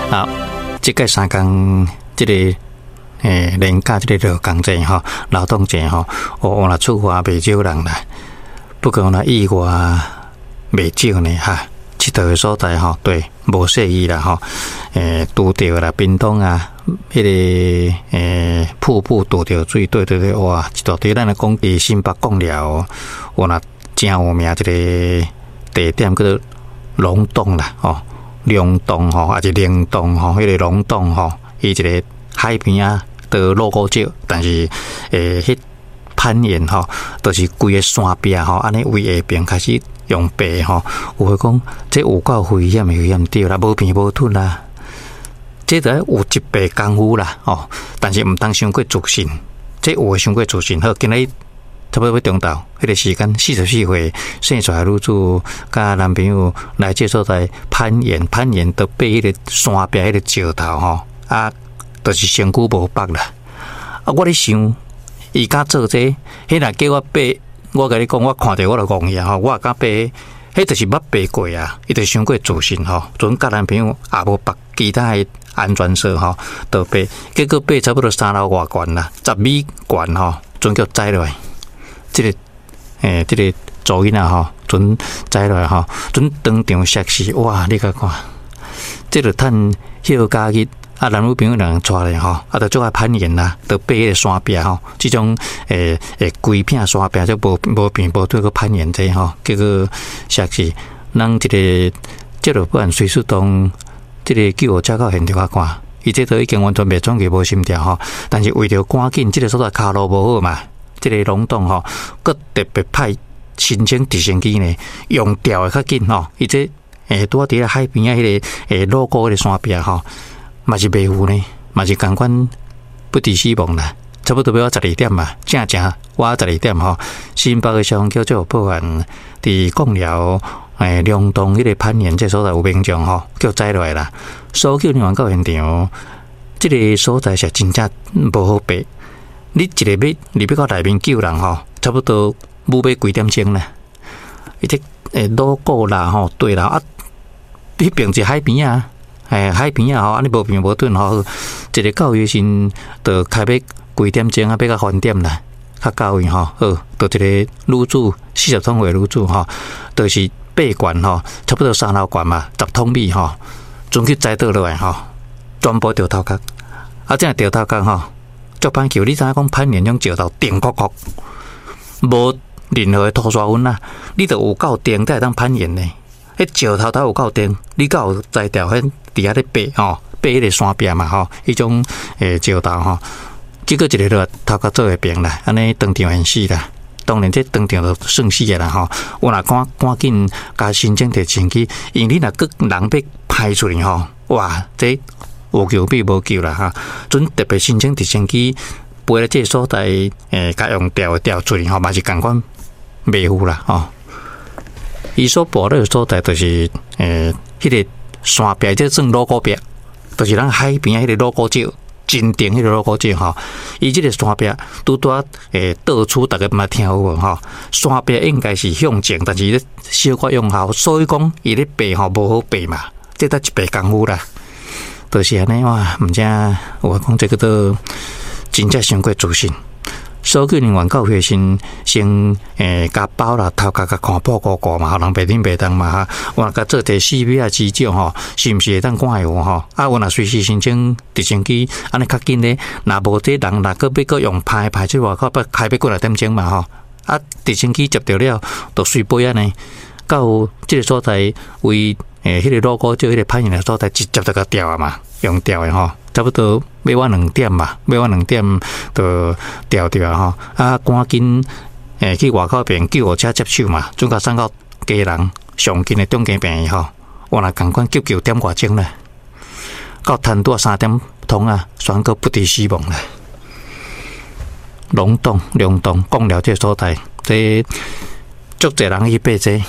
啊，這屆三工這個連假這個勞工節吼，勞動節吼，哦，若處罰袂少人啦。不過若意外袂少呢哈，𨑨迌的所在吼，對，無細意啦吼，拄著啦，屏東啊，彼個瀑布拄著水，對對對，哇，一大堆。咱來講佇新北貢寮，有若誠有名一個地點叫做龍洞啦，吼，龍洞吼，抑是靈洞吼，彼個龍洞吼，伊一個海邊仔的鑼鼓石，但是彼攀岩吼，就是規个山壁吼，按呢為下爿開始用爬吼，有話講這有夠危險的危險對啦，無平無凸啦，這著愛有一倍功夫啦，吼，但是毋通傷過自信，這有的傷過自信。好，今日差不多欲中晝，彼個時間44歲生出來女子佮男朋友來這所在攀岩，攀岩著爬彼個山壁彼個石頭吼，啊，就是身軀無縛啦。啊，我咧想，伊敢做這個，彼若叫我爬，我共你講，我看著我就戇去啊吼，我也敢爬，彼就是捌爬過啊，伊就傷過自信吼，陣佮男朋友也無縛其他的安全索吼，就爬，結果爬差不多三樓外懸啦，10米懸吼，陣叫栽落來，這個這個查某囡仔吼，陣栽落來吼，陣當場摔死，哇！你共看，這個趁休假日。啊，男女朋友兩人帶咧吼，啊，就足愛攀岩啦，就爬彼个山壁吼，這種規片山壁就無無平無凸閣攀岩這吼，結果摔死。咱這個這個不管隨時當這個救護車到現場來看，伊這都已經完全袂喘氣無心跳吼，但是為著趕緊，這個所在跤路無好嘛，這個龍洞吼，閣特別派申請直升機呢，用吊的較緊吼，伊這拄仔佇咧海邊仔彼個鑼鼓彼個山壁吼。嘛是袂赴呢，嘛是仝款不治死亡啦，差不多欲12點嘛，正正倚十二點吼。新北的消防局就有報案，佇貢寮龍洞彼個攀岩這所在有民眾吼叫栽落來啦，搜救人員到現場，這個所在是真正無好爬，你一个欲入去到內面救人吼，差不多欲幾點鐘啦。伊這鑼鼓啦吼，對啦啊，彼爿是海邊仔。海邊仔吼，按呢無平無凸吼，一个到位時陣，就開欲幾點鐘啊，欲到翻點啦，較到位吼。好，就一個女子40通歲女子吼，就是爬懸吼，差不多三樓懸嘛，10通米吼，陣去栽倒落來吼，全部著頭殼。啊，這著頭殼吼，足歹救。你知影講攀岩種石頭定國國，無任何的塗沙粉啊，你著有夠定才會當攀岩呢。彼石頭頭有夠定，你敢有才調？彼佇遐咧爬吼，爬彼个山壁嘛吼，彼種石頭吼，結果一个落頭殼做會平啦，按呢當場現死啦。當然這當場就算死的啦吼。有若趕趕緊共申請直升機，因為你若閣人欲歹出去吼，哇，這有救比無救啦哈。陣特別申請直升機飛來這个所在，共用吊的吊出去吼，嘛是仝款袂赴啦吼。伊所跋落的所在就是彼个山壁，這算鑼鼓壁，就是咱海邊仔彼個鑼鼓石，真定彼個鑼鼓石吼。伊這個山壁拄拄仔到處逐家嘛聽有無吼？山壁應該是向前，但是咧小可向後，所以講伊咧爬吼無好爬嘛，這得一倍功夫啦。就是按呢哇，毋知有話講這个都真正傷過自信。搜救人員到會時先共包啦，頭殼共看破糊糊嘛，予人袂冷袂凍嘛哈。有若共做一个 CPR 急救吼，是毋是會當看會有吼？啊，有若隨時申請直升機，按呢較緊咧。若無這人，若閣欲閣用歹歹出外口，欲開欲幾若點鐘嘛吼。啊，直升機接著了，就隨飛按呢，到這个所在為彼个鑼鼓石彼个攀岩的所在，直接就共吊啊嘛，用吊的吼。差不多欲倚2點嘛，欲倚2點就吊著啊吼。啊，趕緊去外口邊救護車接手嘛，準共送到家人上近的中間病院吼。原來仝款急救點外鐘啦，到趁拄仔3點通啊，宣告不治死亡啦。龍洞、龍洞，貢寮這个所在，這足濟人去爬這，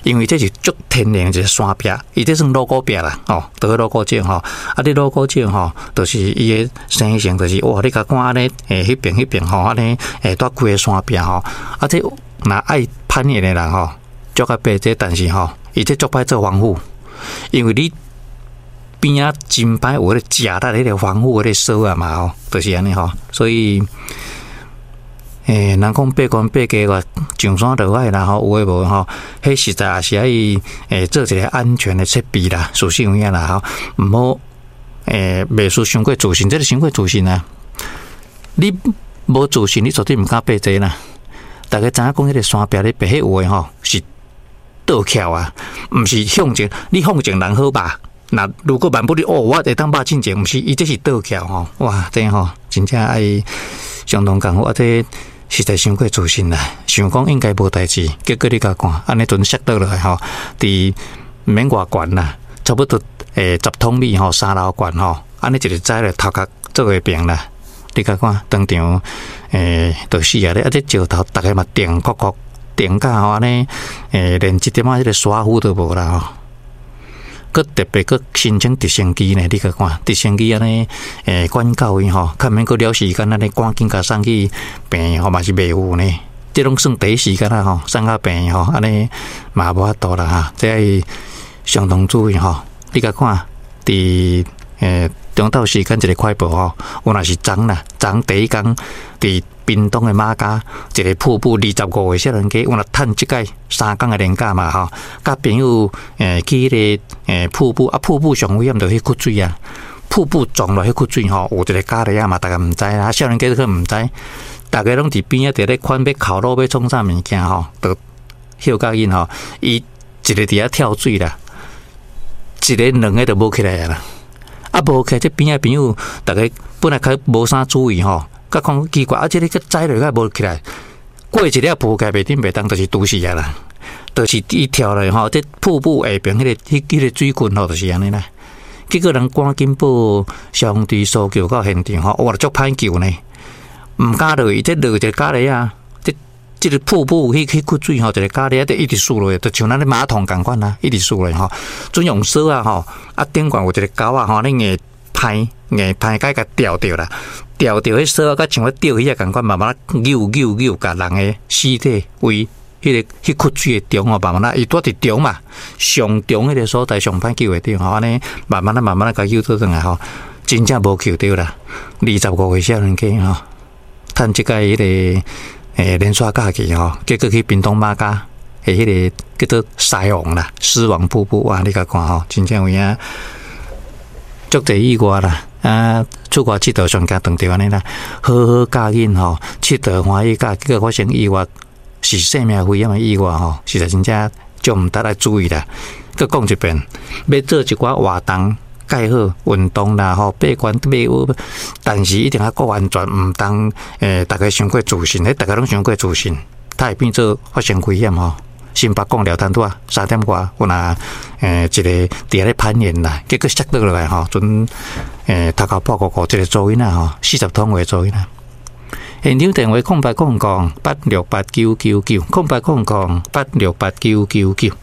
因為這是足天然一個山壁，伊這算鑼鼓壁啦，吼，著鑼鼓石吼，啊，這鑼鼓石吼，就是伊的生成，就是哇，你共看按呢，彼爿彼爿吼，按呢，蹛規个山壁吼，啊，這若愛攀岩的人吼，足愛爬這，但是吼，伊這足歹做防護，因為你邊仔真歹有彼个食力彼个防護彼个鎖仔嘛吼，就是按呢吼，所以，人講爬懸爬低上山落海啦吼，有的無吼，彼實在也是愛做一个安全的設備啦，事實有影啦吼，毋好袂輸傷過自信，這个傷過自信啊！你無自信，你絕對毋敢爬這啦。逐家知影講彼个山壁咧爬彼有的吼是倒翹啊，毋是向前，你向前人好吧？若如果萬不你哦，我會當捌進前，毋是伊這是倒翹吼，哇，這吼真正愛相當艱苦啊！這實在傷過自信啦，想講應該無代誌，結果你共看，按呢陣摔倒落來吼，佇毋免偌懸啦，差不多10通米吼，3樓懸吼，按呢一个栽咧頭殼做會平啦，你共看當場就死啊！咧啊，這石頭逐家嘛定確確定甲吼按呢連一點仔彼个沙糊都無啦吼。閣特別閣申請直升機呢？你共看直升機按呢，管教伊吼，較免閣了時間按呢趕緊共送去病院吼，嘛是袂有呢。這攏算第一時間啦吼，送到病院吼，按呢嘛無法度啦哈。這愛相當注意吼。你共看，佇中晝時間一个快報吼，有若是昨啦，昨第一工佇屏東的馬家一个瀑布，25歲少年家，有若趁這擺3工的連假嘛吼，佮朋友去彼个瀑布啊，瀑布上危險就彼窟水啊，瀑布撞落彼窟水吼，有一个咖喱仔嘛，逐家毋知啦，少年家都可能毋知，逐家攏佇邊仔佇咧款欲烤肉欲創啥物件吼，就歇較緊吼，伊一个佇遐跳水啦，一个兩个就無起來啊啦，啊無起來，這邊仔朋友逐家本來較無啥注意吼。佮看奇怪，啊！這个閣栽落去無起來，過一了浮起來袂振袂動，就是拄死啊啦，就是伊跳落吼，這瀑布下爿彼个彼彼个水群吼，就是按呢啦。結果人趕緊報消防隊搜救到現場吼，哇，足歹救呢，毋敢落去，這落一个咖喱仔，這這个瀑布彼彼窟水吼，一个咖喱仔，就一直輸落去，就像咱咧馬桶仝款啊，一直輸落去吼，準用索仔吼，啊頂懸有一个鈎仔吼，你硬攀硬攀，共伊共吊著啦。吊著彼索仔，佮像咧釣魚仔仝款，慢慢仔扭扭扭，共人的屍體為彼个彼窟水的中吼，慢慢仔伊拄佇中嘛，上中彼个所在上歹救會著吼，按呢慢慢仔慢慢仔共救倒轉來吼，真正無救著啦。25歲少年家吼，趁這擺彼个連續假期吼，結果去屏東馬家的彼个叫做獅王啦，獅王瀑布哇，你共看吼，真正有影足濟意外啦。啊，出外𨑨迌上驚撞著按呢啦，好好教囡吼，𨑨迌歡喜教，結果發生意外，是生命危險的意外吼，實在真正足毋值來注意啦。閣講一遍，欲做一寡活動，蓋好運動啦吼，爬懸爬學，但是一定愛顧安全，毋通逐家傷過自信，彼逐家攏傷過自信，它會變做發生危險吼。新北貢寮攤拄仔3點外，有若一个佇遐咧攀岩啦，結果摔倒落來吼，陣頭殼破鼓鼓，一个查某囡仔吼，40通歲查某囡仔。現場電話0800868999，0800868999。